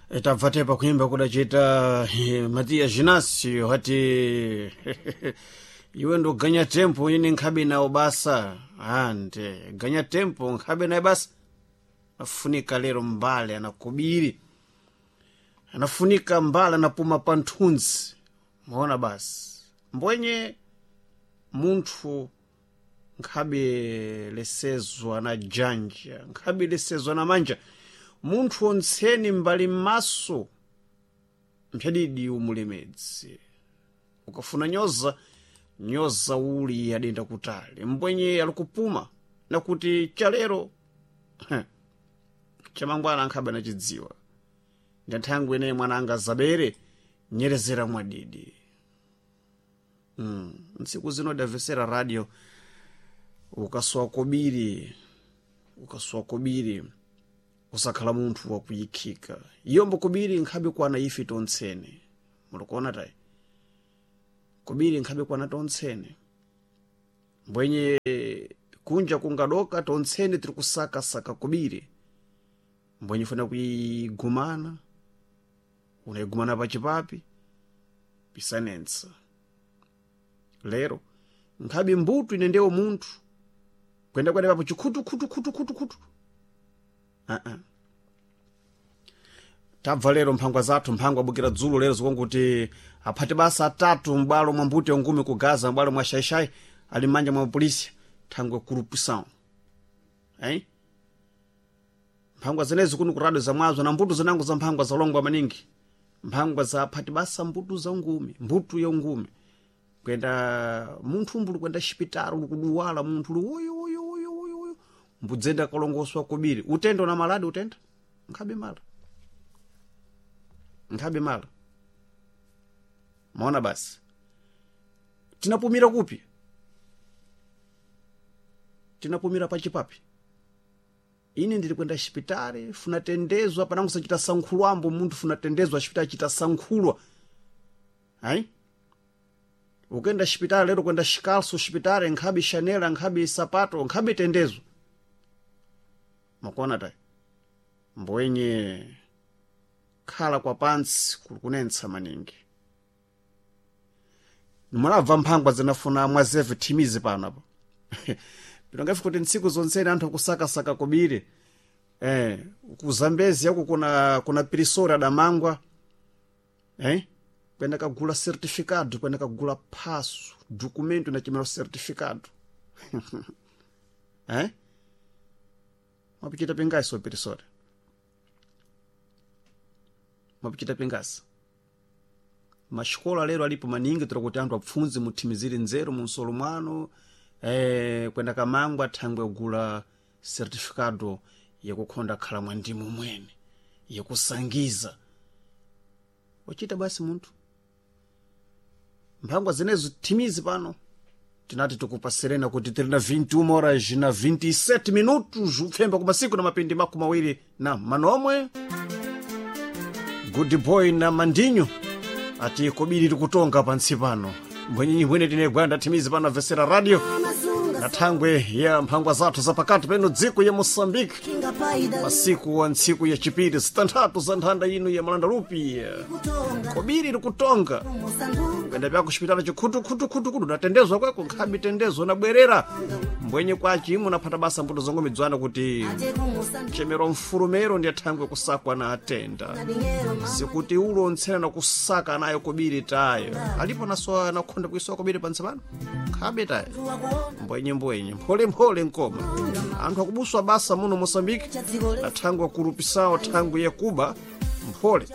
Tabva tepa kuimba kudachita Matiya Ginasio hati iwe ndoganya tempo ine nkhabe nawo basa ande ganya tempo nkhabe naye basa. Afunika lero mbale anakubiri, anafunika mbale anapuma pa nthunzi maona basi mbwenye munthu nkhabe lesezwa na janja, nkhabe lesezwa na manja. Munthu ontseni mbali m'maso mphadidi umulemedzi. Ukafuna nyoza nyoza uli adenda kutali mbwenye alikupuma nakuti chalero chamangwana ankhabe anachidziwa. Ndanthangwe ineyi mwana anga zabere nyerezera mwadidi. Ntsiku zino davesera radio ukasowa kobiri, ukasowa kobiri usakhala munthu wakuyikhika. Iyombo kobiri nkhabe kwana ife tontsene mulikuona tayi kobiri nkhabe kwana tontsene mbwenye kunja kungadoka tontsene tiri kusakasaka kobiri mbwenye funa kuyigumana unayigumana pachipapi pisanensa. Lero nkhabe mbuto ine ndewo munthu kwenda kwenda papo chikhutu khutu khutu khutu khutu. Tabva lero mphangwa zathu mphangwa abukira dzulo lero zikonguti aphati basa atatu m'bwalo mwa mbuto yangumi ku Gaza, m'bwalo mwa Xaixai ali m'manja mwa polisi thangwe corrupção. Mphangwa zenezi kuno ku radio zamwazo na mbuto zinango za mphangwa zalongwa maningi, mphangwa za aphati basa mbuto za ngumi, mbuto ya ngumi kwenda munthu umbuli kwenda xipitalo uli kuduwala munthu uli woyo woyo woyo woyo woyo mbudzenda kalongoswa kobiri utenda una maladi utenda nkhabe mala, nkhabe mala maona basi tinapumira kupi, tinapumira pachipapi. Ine ndili kwenda xipitali funa tendezwa panango sachita sankhulwambo munthu funa tendezwa xipitali chita sankhulwa ayi. Ukenda xipitali lero kwenda xikalso xipitali nkhabe xanela nkhabe sapato nkhabe tendezo makuona tayi mbwenye khala kwa pantsi kuli kunentsa maningi. Mulabva mphangwa zinafuna mwazeve thimizi pano apo pinongafi kuti ntsiku zontsene anthu akusakasaka kobiri. Ku Zambezi yako kuna pirisori adamangwa kwenda kagula certificado, kwenda kagula phaso documento nachimera certificado. Mwapichita pingasi pirisori, mwapichita pingasi. Maxikola lero alipo maningi tira kuti anthu apfundze muthimizire nzeru munsolo mwano. Kwenda kamangwa thangwe kugula certificado yakukhonda khala mwa ndimo mwene yakusangiza wachita basi munthu. Mphangwa zenezo thimizi pano tinati tikupaserena kuti tiri na 21 horas na 27 minutos upfemba kumasiku na mapindi makumi awiri na manomwe. Good boy na mandinyo ati kobiri tikutonga pantsi pano mbwenyenyi bwene tine gwanda thimizi pano avesera radio na thangwe ya mphangwa zathu zapakati peno dziko ya Moçambique masiku wa ntsiku ya chipiri zitanthatu za nthanda ino ya malanda lupi kobiri likutonga kwenda pyako xipitala chikhutukhutukhutukhutu natendezwa kweko nkhabe tendezo nabwerera mbwenye kwachi imwe naphata basa mbuto zangomidzwana kuti chemero mfulumero ndiye thangwe kusakwa na atenda sikuti ulo ontsena nakusaka nayo kobiri tayo alipo naso nakhonda kuisowa kobiri pantsi pano nkhabe tayo mbwenye mbwenye mpholemphole nkoma anthu akubuswa basa muno Moçambique na thangwe akurupisawo thangwe yakuba mphole.